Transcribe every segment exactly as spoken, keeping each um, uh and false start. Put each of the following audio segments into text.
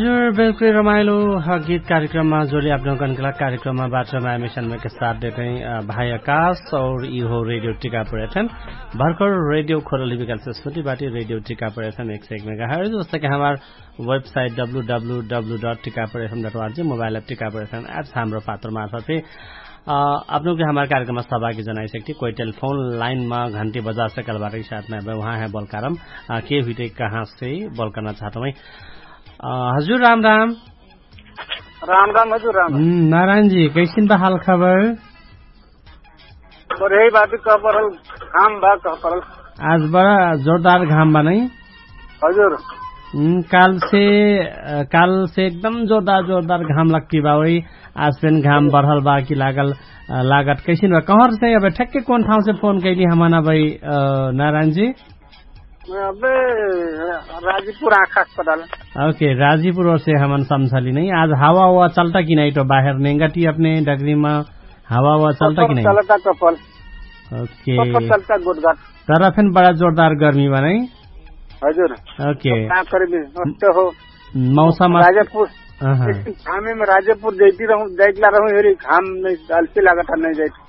हजुर, बिल्कुल रमाइलो गीत कार्यक्रममा जोडी आपनौकन कला कार्यक्रममा बाटो माया मिसनमे के साथ देतै भाइ आकाश और इहो रेडियो टिकापुर एफएम। भर्खर रेडियो खोरली विकल्प से सुटी बाटी रेडियो टिकापुर एफएम एक सौ एक मेगा हर्ज। जस्तै कि हमार website W W W dot Tikapur FM dot ORG mobile app Tikapur FM apps Hamro Patro मार्फत आपनौके हमार कार्यक्रममा सहभागी जनाइ सकती। कोइ टेलिफोन लाइनमा घन्टी बजा सकल बाटै साथमा वहाँ है बोलकारम के हुइतै कहाँ से बोल करना चाहतौ है। हजुर राम राम। राम राम हजुर राम। नारायणजी कैसिन बा हाल खबर? बढै बाटु कह परल। घाम बा कह परल। आज बडा जोरदार घाम बा नै? हजुर। काल से काल से एकदम जोरदार जोरदार घाम लग्ती बा ओइ। आज फेन घाम बढल बा कि लागल? लागत कैसिन बा कहर से अब ठ्याक्कै कौन ठाउँ से फोन कैली हमाना भाइ? नारायणजी। अबे राजीपुर आँखा अस्पताल। ओके, राजीपुर ओर से हमन समझली नै। आज हावा ओवा चलता कि नै तो बाहेर नेंगटी अपने डगरी मा हावा ओवा चलता कि नै? चलता कपल। ओके। कपल चलता गोटगाट। तर फेन बडा जोरदार गर्मी बा नै? हजुर। ओके। का करबे अस्त हो। मौसम अस- राजापुर। अहाँ। एकदिन घामे में राजापुर जैती रहूं जैतला रहूं हेरी घाम नै डालते लागत नै जैत।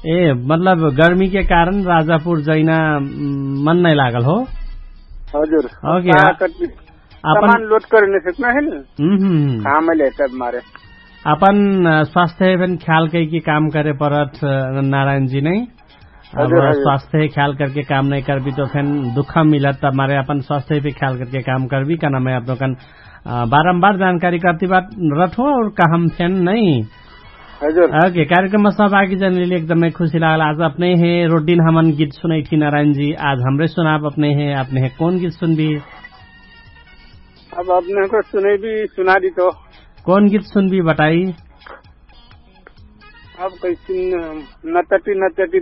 ए मतलब गर्मी के कारण राजापुर जैना मन नै लागल हो? हजुर। ओके। सामान लोड करे नै सकना है न। हम्म हम्म। घाम ले तब मारे। अपन स्वास्थ्य फेन ख्याल कैकी काम करे परत नारायणजी नै। अब स्वास्थ्य ख्याल करके काम नै करबी तो फेन दुख मिलत तब मारे अपन स्वास्थ्य पे ख्याल करके काम करबी कहना मैं अपनोकन बारम्बार जानकारी करती बात रठो और कहम फेन नै। हजुर। ओके, कार्यक्रममा सहभागी जनैली एकदमै खुसी लागल। आज अपनै हे रोडिन हमन गीत सुनैठी नारायणजी। आज हमरे सुनाब अपनै हे अपनै हे कौन गीत सुनबी? अब अपनै को सुनैबी सुनादी तो। कौन गीत सुनबी बताई? अब कैसिन नचटी नचटी